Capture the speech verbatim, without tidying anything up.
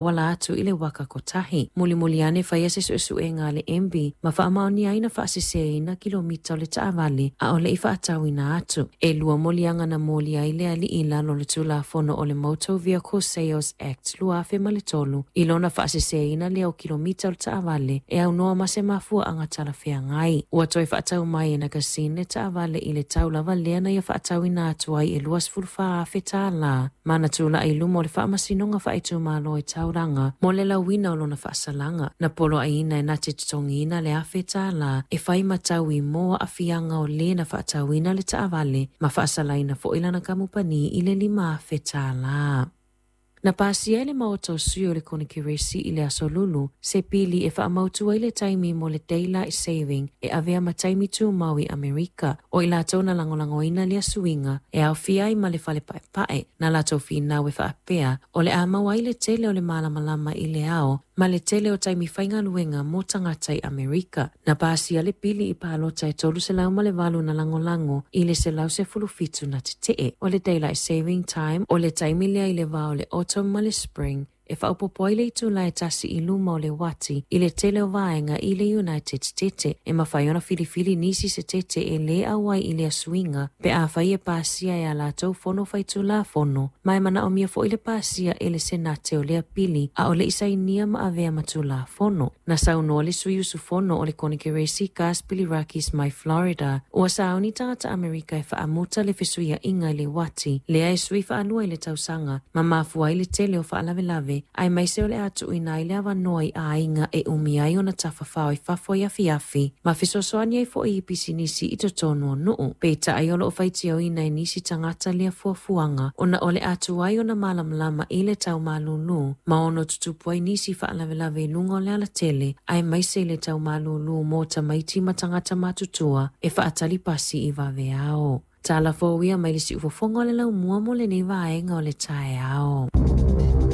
Wala atu i le waka kotahi. Mulimuli ane whaia se suesuega a le M B ma faamaonia ai na faasiseina kilomita o le taavale a o le i faatauina atu. E lua moliaga na molia ai le alii i lalo o le Tulafono o le Motor Vehicle Sales Act lua afe ma le tolu i lona faasiseina lea o kilomita o le taavale e aunoa ma se mafuaaga talafeagai. Ua toe faatau mai e Nakasin le taavale i le tau lava lea na ia faatauina atu ai e luasefulufa afe tālā ma na tula'i i luma o le faamasinoga faaitumalo i taulaga mo le lauina o lona faasalaga. Na poloaiina e na te totogiina le afe tālā e whai matau i moa afianga o le na faatauina le taavale ma faasalaina fo'i lana kamupani i le lima afe tālā. Na pasia e le maota o sui o le Konekeresi i le aso Lulu, se pili e faamautu ai le taimi mo le Daylight Saving e avea ma taimi tumau i Amerika. O i latou na lagolagoina lea suiga e aofia ai ma le fale paepae na latou finau e faapea o le a maua ai le tele o le malamalama i le ao ma le tele o taimi faigaluega mo tagata i Amerika. Na pasia le pili i palota e tolu selau ma le valu na lagolago i le selau sefulu fitu na tetee. O le Daylight Saving Time o le taimi lea i le va o le autumn ma le spring e faaopoopo ai le itula e tasi i luma o le uati i le tele o vaega i le United States e mafai ona filifili nisi se tete e lē auai i le suiga pe afai e pasia e a latou fono faitulafono ma e manaomia fo'i le pasia e le senate o lea pili a o le isainia ma avea ma tulafono. Na saunoa le sui usufono o le Konekeresi Gus Bilirakis mai Florida ua sauni tagata Amerika e faamuta le fesuia'iga i le uati lea e sui faalua i le tausaga ma mafua ai le tele o faalavelave ae maise o le a tuuina ai le avanoa i aiga e umi ai ona tafafao i fafo i afiafi ma fesoasoani ai fo'i i pisinisi i totonu o nuu. Peitai o loo faitioina e nisi tagata lea fuafuaga ona o le atu ai ona malamalama i le taumalūlū ma ono tutupu ai nisi faalavelave i luga o le alatele ae maise i le taumalūlū mo tamaiti ma tagata matutua e faatali pasi i vaveao. Tala fou ia mai le siufofoga o le laumua mo lenei vaega o le taeao.